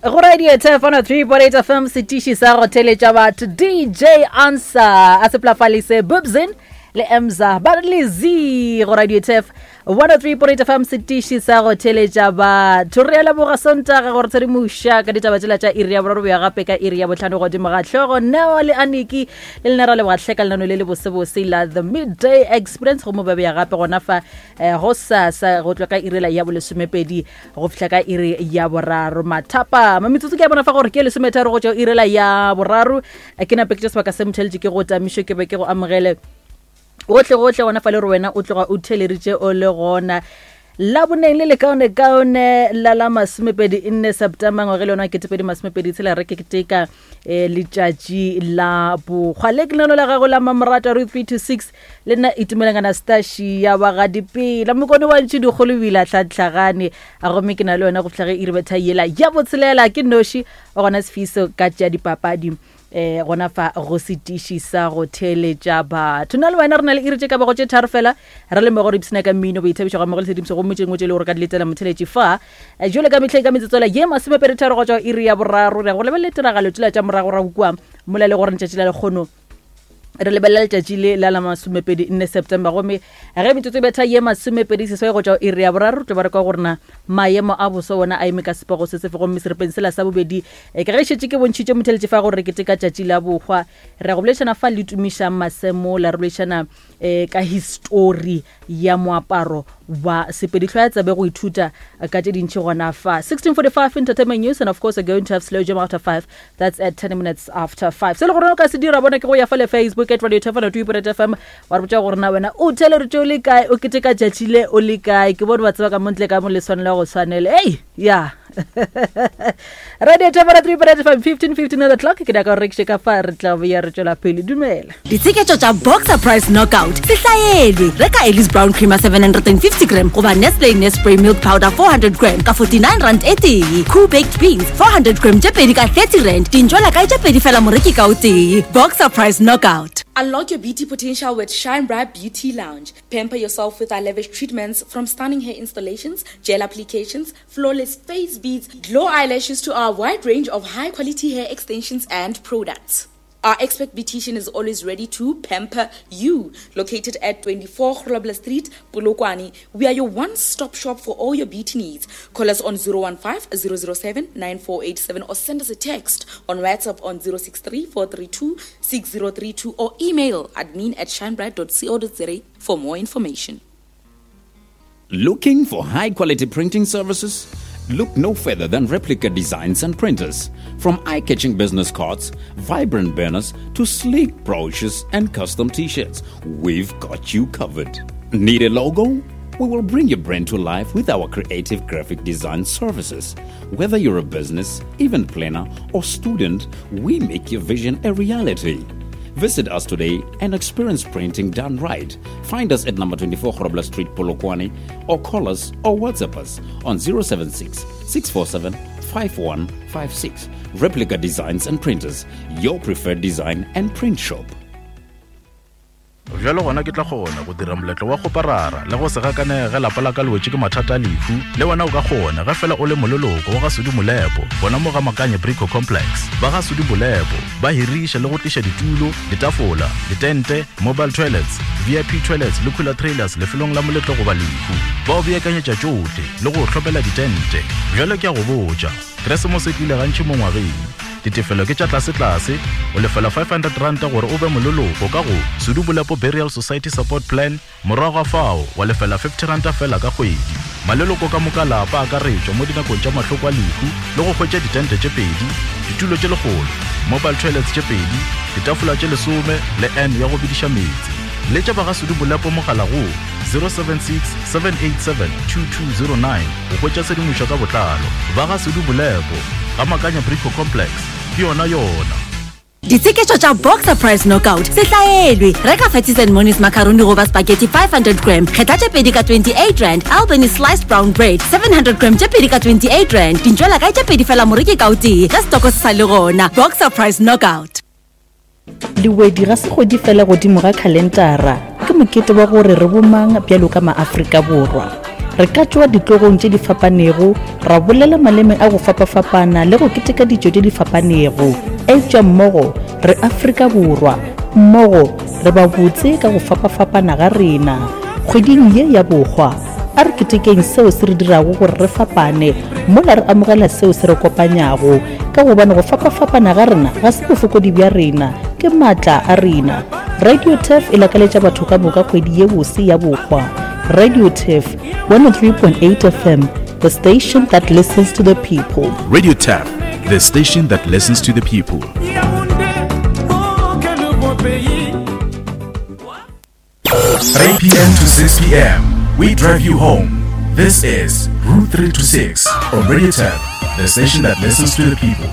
Go radio Thefano 3.8 FM setiši sa go theletša batho DJ Answer a seplafalise Bubzin le Emza ba re le Z go radio Thef 103.8 FM setiši sa go theletša batho re a leboga Sontaga gore tshedimoša ka ditaba tšela tša iri ya boraro boya gape ka iri ya botlhano godimo ga hlogo Neo le Aniki le lena ra leboga hle ka lenano le le bosebose la The Midday Experience go mo ba beya gape gona fa eh, go sasa go tloga ka iri la ya bolesomepedi go fihla ka iri ya boraro mathapama metsotso ke ya bona fa gore ke lesometharo go tšwa irela ya boraro eh, ke nape ke tša sebaka se motheletše ke go tamišo ke be ke go amogele gohle gohle gona fa le gore wena o tloga o theleritše o le gona la boneng le lekaonekaone la la masomepedi nne september ngwage le yona ketepedi masomepedi tshela re ke keteka um letšatši la bokgwa le ke lenano la gago la mamorato re 3 to 6 le nna itumeleng anastashi ya bagadipela mokone wa ntši dikgolo o ile a tlhatlhagane a gomme ke na le yona go fitlha ge iri betha yela ya botshelela ke noši wa gona sefiso ka tša dipapadi um gona fa go setiši sa go theeletša batho na le wena re na le iri tše ka bago tše tharo fela re le mmogo re ipshina ka mmino boithabišo ga mmogo le tshedimošo gomme tše dingwe tše e le gore ka di letela motheletši fa eh, jole ka mehleng ka metsotswela ye masomepeditharo go tšwa iri ya boraro re ya go lebelela tiragalo tšela tša moragorago kua mola le gore letšatši la lekgono re lebelela letšatši le la la masomepedi nne september gomme ge metsotso e betha ye masomepedi seswai go tšwa iri ya boraro tlo ba re kwa gore na maemo a boso wona a eme ka sepego se sefe gomme serepeng sela sa bobedi e ka ge šetše ke bontšhitše motheletše fa gore re keteka tšatši la bohwa re ya go boledišana fa le tumišang masemola re boledišana um ka histori ya moaparo wa Sepedi. Hlwaya tsebe go ithuta ka tše dintši gona fa. 16:45 Entertainment News and of course we're going to have slow jam after 5. That's at 10 minutes after 5. Se le gore o ka se dira bona ke go ya fa le Facebook at Radio Thefano 2.8 FM wa re botša gore na wena o theleditše o le kae o keteka tšatši le o le kae ke bone ba tseba ka montle ka mo le swanela go tshwanela ei ya Radio Thefano 3.8 FM 15:15 on the clock ke nyaka gore rekiše ka fa re tla boya re tšwela pele dumela Ditsheketšo tša Boxer Price Knockout se hlaelwe. Reka Ellis Brown Creamer 750 gram goba Nestle Nespray Milk Powder 400 gram ka 49 rand e tee. Cool Baked Beans 400 gram tše pedi ka 30 rand. Dintšwela kae tše pedi fela moreki ka o tee. Boxer Price Knockout. Unlock your beauty potential with Shine Bright Beauty Lounge. Pamper yourself with our lavish treatments from stunning hair installations, gel applications, flawless face beads, glow eyelashes to our wide range of high quality hair extensions and products. Our expert beautician is always ready to pamper you. Located at 24 Grobler Street, Polokwane, we are your one-stop shop for all your beauty needs. Call us on 015 007 9487 or send us a text on WhatsApp on 063 432 6032 or email admin at shinebright.co.za for more information. Looking for high quality printing services? Look no further than Replica Designs and Printers. From eye catching business cards, vibrant banners, to sleek brochures and custom t shirts, we've got you covered. Need a logo? We will bring your brand to life with our creative graphic design services. Whether you're a business, event planner, or student, we make your vision a reality. Visit us today and experience printing done right. Find us at number 24 Grobler Street, Polokwane, or call us or WhatsApp us on 076 647 5156. Replica Designs and Printers, your preferred design and print shop. Bjalo gona ke tla kgona go dira moletlo wa kgoparara le go se gakanege ge lapa la ka le wetše ke mathata a lehu. Le wena o ka kgona ge fela o le moleloko wa ga Sudi Molepo gona mo ga Makanye Brico Complex. Ba ga Sudi Molepo ba hiriša le go tliša ditulo, ditafola, ditente, mobile toilets, VIP toilets le cooler trailers lefelong la moletlo goba lehu. Ba o beakanyetša tšohle le go o hlopela ditente. Bjalo ke a go botša, Keresemose e tlile gantši mo ngwageng. Ditefelo ke tša tlasetlase, o lefela R500 gore o be moleloko ka go Sudu Bolepo Burial Society Support Plan, morago ga fao wa lefela R50 fela ka kgwedi. Maleloko ka moka lapa a akaretšwa mo dinakong tša mahloko a lehu le go hwetša ditente tše pedi, ditulo tše lekgolo, mobile toilets tše pedi, ditafola tše lesome le urn ya go bediša meetse. Letša ba ga Sudu Bolepo mogala go 076 787 2209 go hwetša tshedimošo ka botlalo. Ba ga Sudu Bolepo, ga Makanya Brico Complex, ke yona yona. Ditsheketšo tša Boxer Price Knockout se hlaelwe. Reka Fatties and Monies macaroni goba spaghetti 500 gram, kgetha tše pedi ka 28 rand, Albany sliced brown bread 700 gram tše pedi ka 28 rand, dintšwela kae tše pedi fela moreki ka o tee ge setoko se sa le gona. Boxer Price Knockout. Lewedi ga se kgwedi fela godimo ga khalentara, ke mokete wa gore re bomang bjalo ka maAfrika Borwa. Re ka tšwa ditlogong tše di fapanego, ra bolela maleme a go fapafapana le go keteka ditšo tše di fapanego, eupša mmogo re Afrika Borwa. Mmogo re ba botse ka go fapafapana ga rena. Kgweding ye ya Bohwa, a re ketekeng seo se re dirago gore re fapane mola re amogela seo se re kopanyago, ka gobane go fapafapana ga rena ga se bofokodi bja rena, ke maatla a rena. Radio Turf e lakaletša batho ka moka kgwedi ye bose ya Bohwa. Radio Turf, 103.8 FM, the station that listens to the people. Radio Turf, the station that listens to the people. 3 p.m. to 6 p.m. We drive you home. This is Route 3 to 6 on Radio Turf, the station that listens to the people.